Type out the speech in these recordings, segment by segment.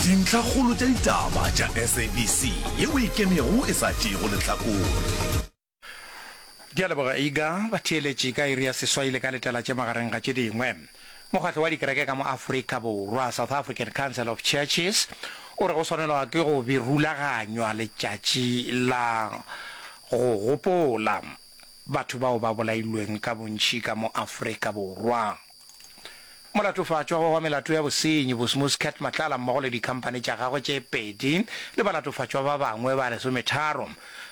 Dintlhakgolo tša ditaba tša SABC yeo e ikemego e sa tšeego lehlakore. Ke a leboga Iga. Batheeletši ka iri ya seswai le ka letela tše magareng ga tše dingwe. Mokgatlo wa dikereke ka mo Afrika Borwa, South African Council of Churches, o re go swanelwa ke go be rulaganywa letšatši la go gopola batho bao ba bolailweng ka bontši ka mo Afrika Borwa. Molatofatšwa wa melato ya bosenyi, Bosmus Cat Matlala mmogo le dikhamphani tša gagwe tše pedi le balatofatšwa ba bangwe ba lesometharo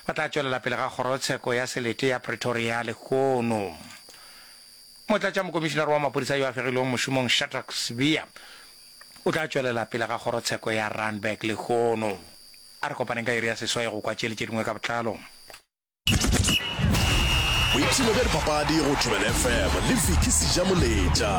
ba tla tšwelela pele ga kgorotsheko ya selete ya Pretoria lehono. Motlatšamokomišinare wa maphodisa yo a fegilwego mošomong Shadrack Sibiya o tla tšwelela pele ga kgorotsheko ya Randburg lehono. A re kopaneng ka iri ya seswai go kwa tše le tše dingwe ka botlalo. Boipshino bja dipapadi go Thobela FM le Vicky Sejamoletša.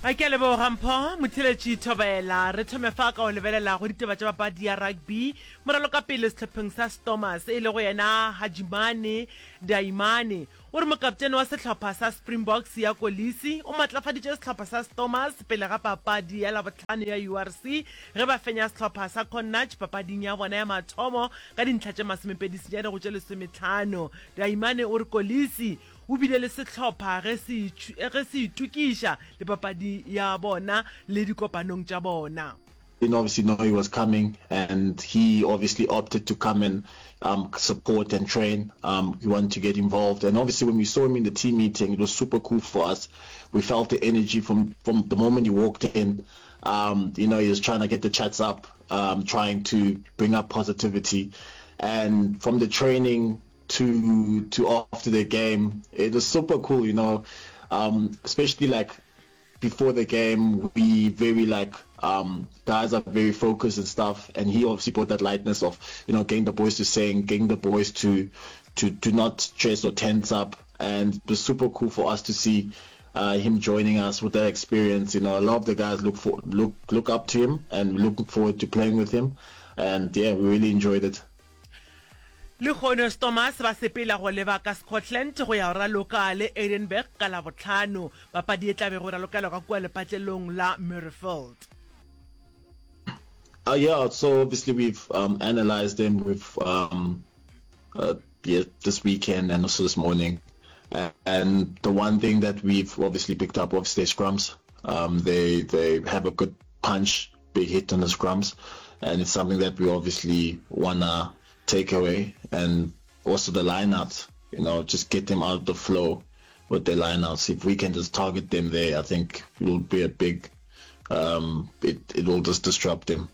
A ke a leboga Mpho Motheletši Thobela. Re thome fa ka go lebelela go ditaba tša papadi ya rugby. Moralokapele sehlopheng sa Stormers e lego yena Hajimane Daimane O re mokaptene wa sehlopha sa Springboks ya Kolisi o matlafaditše sehlopha sa Stormers pele ga papadi ya Labohlano ya URC ge ba fenya sehlopha sa Connacht papading ya bona ya mathomo ka dintlha tše masomepedisenyane go tše lesometlhano. Daimane o re Kolisi o bile le sehlopha ge se ge se itokiša le papadi ya bona le dikopanong tša bona. Didn't obviously know he was coming and he obviously opted to come and um, support and train. Um, he wanted to get involved and obviously when we saw him in the team meeting, it was super cool for us. We felt the energy from, from the moment he walked in. Um, you know, he was trying to get the chats up, um, trying to bring up positivity. And from the training to to after the game, it was super cool, you know, um, especially like before the game we very like um guys are very focused and stuff and he obviously brought that lightness of you know getting the boys to sing getting the boys to to to not stress or tense up and it was super cool for us to see uh, him joining us with that experience you know a lot of the guys look for look look up to him and looking forward to playing with him and yeah we really enjoyed it Lehono Stormers ba sepela go leba ka Scotland go ya go raloka le Edinburgh ka Labohlano. Papadi e tla bego e ralokelwa ka kua lepatlelong la Murrayfield. Uh, yeah, so obviously we've um, analyzed them. We've um, uh, yeah, this weekend and also this morning. And the one thing that we've obviously picked up, obviously, scrums. Um, they they have a good punch big hit on the scrums, and it's something that we obviously wanna take away. And also the lineouts, you know, just get them out of the flow with their lineouts. If we can just target them there, I think it will be a big, um, it, it will just disrupt them.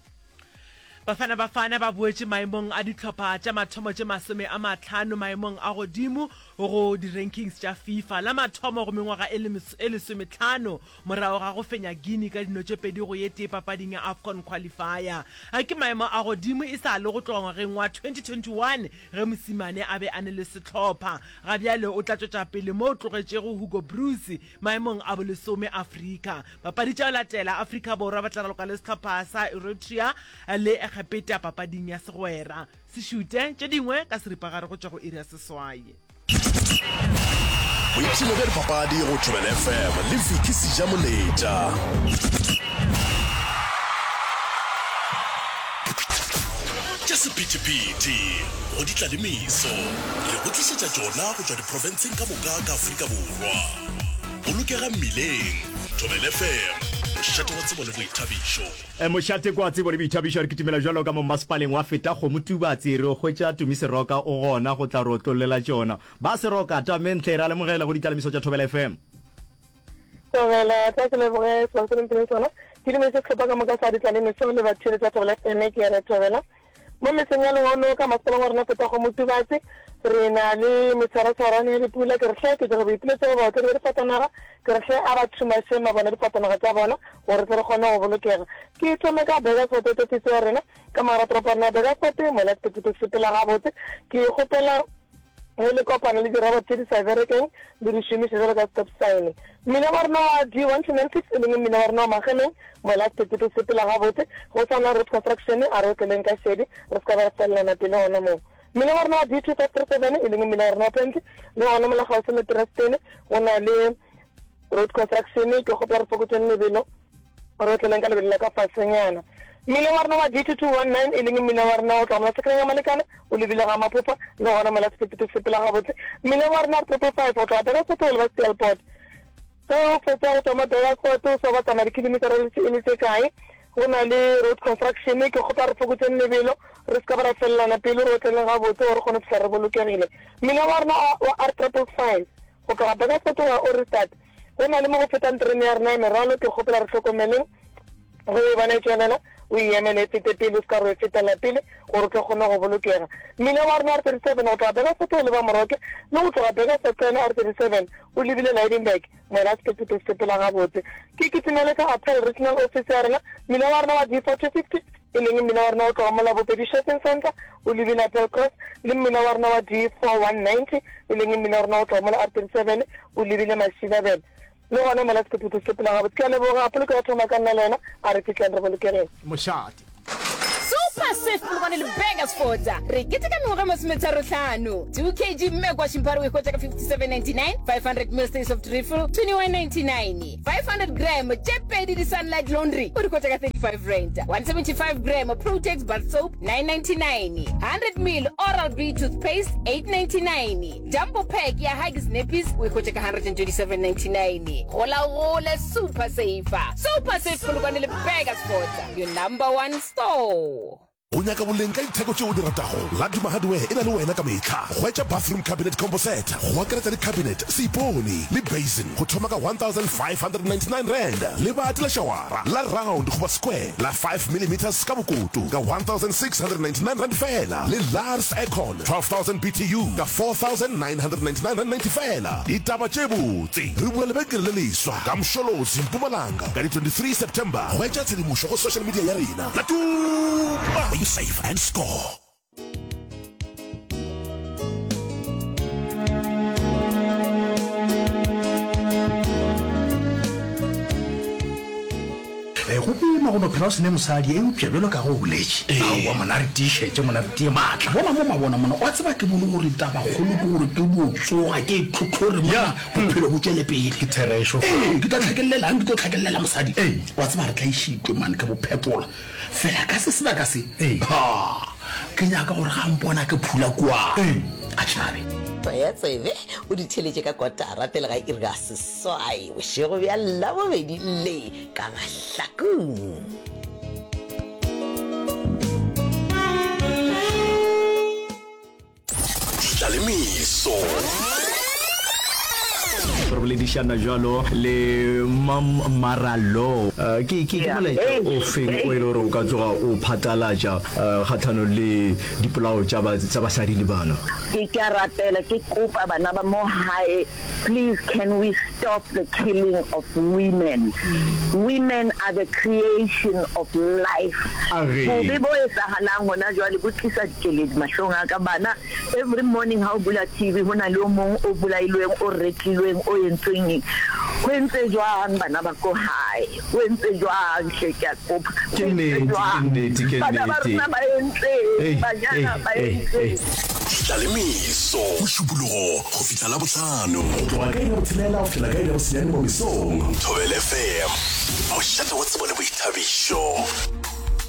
Bafana Bafana ba boetše maemong a dihlopha tša mathomo tše masome a mahlano maemong a godimo go di-rankings tša FIFA la mathomo go mengwaga e lesomehlano Morago ga go fenya Guinea ka dino tše 2 go ye tee papading ya AFCON Qualifier. A ke maemo a godimo e sa le go tloga ngwageng wa 2021 ge Mosimane a be a ne le sehlopha. Ga bjale o tla tšwetša pele mo o tlogetšego Hugo Broos maemong a bolesome Afrika. Papadi tša go latela, Afrika Borwa ba tla raloka le sehlopha sa Eritrea le Egepeta papading ya segwera. Se šute tše dingwe ka seripagare go tšwa go iri ya seswai. Boipshino bja dipapadi go Thobela FM le Vicky Sejamoletša. Tša sephethephethe go di tla le meso re go tlišetša tšona go tšwa diprofenseng ka moka ka Afrika Borwa. Bolokega mmileng. Thobela FM, mošate wa tsebo le boithabišo. Mošate kwa Tsebo le Boithabišo re kitimela bjalo ka mo mmasepaleng wa Fetakgomo Tubatse re o hwetša Tumi Seroka o gona go tla re otlollela tšona. Ba Seroka, tamentle re a lemogela go ditlalemiso tša Thobela FM. Thobela, tla ke leboge sebaka se le mphileng sona. Ke dumedise sehlopha ka moka sa ditlalemiso le batheeletši ba Thobela FM ke re Thobela. Mo mesong ya lehono ka masepaleng wa rena Fetakgomo Tubatse re na le metshwaratshwarano ya dipula. Ke re hle ke dira boipiletšo go baotledi ba difatanaga, ke re hle a ba thumaše mabone a difatanaga tša bona gore re tle re kgone go bolokega. Ke thome ka Burgersfort ofisi ya rena ka mogara toropo ya rena ya Burgersfort mola sephethephethe se sepela gabotse. Ke kgopela Ge le kopana le dirobot tše di sa berekeng, le di šomiše bjalo ka stop sign. Mmila wa rena wa D1296, e leng mmila wa rena wa Mageleng, mola sephethephethe se sepela gabotse, go sa na road construction, a re otleleng ka šedi, re se ka ba ra fellana pelo gona moo. Mmila wa rena wa D2537, e leng mmila wa rena wa Pently, le gona mola kgauswi le Trestene, go na le road construction, ke kgopela re fokotšeng lebelo. Re otleleng ka lebelo la ka fasenyana. Mmileng wa rena wa D2219, e leng mmila wa rena wa go tloga mola sekeleng ya Malekana o lebile ga Maphopha, le gona mola sephethephethe se sepela gabotse. Mmileng wa rena R555 go tloga Burgersfort go leba Steelpoort. Ge o fetša go tšwa mo Burgersfort o sa ba tsamaya dikilometara e le tše kae, go na le road construction. Ke kgopela re fokotšeng lebelo, re se ka ba ra felelana pelo, re otleleng gabotse gore re kgone go fihla re bolokegile. Mmila wa rena wa R555 go tloga Burgersfort go ya Ohrigstad, Go na le mo go fetang terene ya rena ya merwalo, ke kgopela re hlokomeleng ge o e bona e tšwelela, o e emele e fete pele, o se ka re o e fetela pele gore o tlo kgone go bolokega. Mmila wa rena R37 go tloga Burgersfort o leba Moroke le go tloga Burgersfort ka yona R37 o lebile Lydenburg, moela sephethephethe se sepela gabotse. Ke kitimele ka Appel Regional Office ya rena, mmila wa rena wa D4250 e leng mmila wa rena o tloga mola Bopedi Shopping Centre o lebile Appel Cross le mmila wa rena wa D4190 e leng mmila wa rena o tloga mola R37 o lebile Mašilabele. Le gona mola sephethephethe se sepela gabotse. Ke a leboga. Poloko ya thoma ka nna le wena. A re fihleng re bolokegeng. Mošate. Super Safe Polokwane le Burgersfort re keteka mengwaga e masometharohlano. 2 kg Mmekwa Shimpare o e hwetša ka 57.99, 500 ml Stay Soft Refill 21.99, 500 gram tše pedi di Sunlight Laundry o di hwetša ka 35 rand, 175 gram Protex Bath Soap 9.99, 100 ml Oral B Toothpaste 8.99. Jumbo pack ya Huggies Nappies o e hwetša ka 127.99. Gola o gole Super Saver. Super Safe Polokwane le Burgersfort, your number one store. O nyaka boleng ka ditheko tšeo o di ratago? Laduma Hardware e na le wena ka mehla. Hwetša bathroom cabinet combo set go akaretša le cabinet, seipone le basin go thoma ka R1599. Lebati la šawara la round goba square la 5 millimeters ka bokoto ka R1699 feela le Lars Aircon 12,000 BTU ka R4,999.90 feela. Ditaba tše botse! Re bula lebenkele le leswa ka Msholozi, Mpumalanga ka di 23 September. Hwetša tshedimošo go social media ya rena. La tuma! Where you save and score. Eh, go boima go no phela o se ne mosadi, eupša bjalo ka ge o boletše, aowa mona re tiišetše, mona re tie maatla. Bona mo mabona mona, wa tseba ke bone gore tabakgolo ke gore ke dio tsoga ke itlhotlhore mona, bophelo bo tšwele pele. Ke therešo. Ee, ke tla tlhakellelang, ke tlo tlhakellela mosadi. Wa tseba re tlaišitšwe mane ke bophetola, fela ka se sebaka se, ha, ke nyaka gore ga a mpona ke phula kua, a tšhabe. Tsaya tsebe o di theeletše ka kotara pele ga iri ya seswai bošego bja Labobedi le ka mahlakong. Tlalemeso. Re boledišana bjalo le Mam Maralo. Ke ke ke molaetša o feng o e le gore o ka tsoga o phatlalatša kgahlanong le dipolao tša tša basadi le bana? Ke ke a rapela ke kopa bana ba mo hae Please can we stop the killing of women? Women are the creation of life. Bobe bo etsahalang hona jwale bo tlisa dikeledi mahlong a ka. Bana every morning ha o bula TV ho na le o mong o bolailweng, o retlilweng, o entsweng eng. Ho entse jwang bana ba ko hae? Ho entse jwang hle ke a kopa. Ke nnete, ke nnete, ke Bana ba nnete. rona ba entseng? Ei, Banyana ei, ba ei, entseng? ei. Tlalemeso, Mošupologo go fihla Labohlano. Go tloga ka iri ya botshelela go fihlela ka iri ya bosenyane mo mesong. Thobela FM, mošate wa tsebo le boithabišo.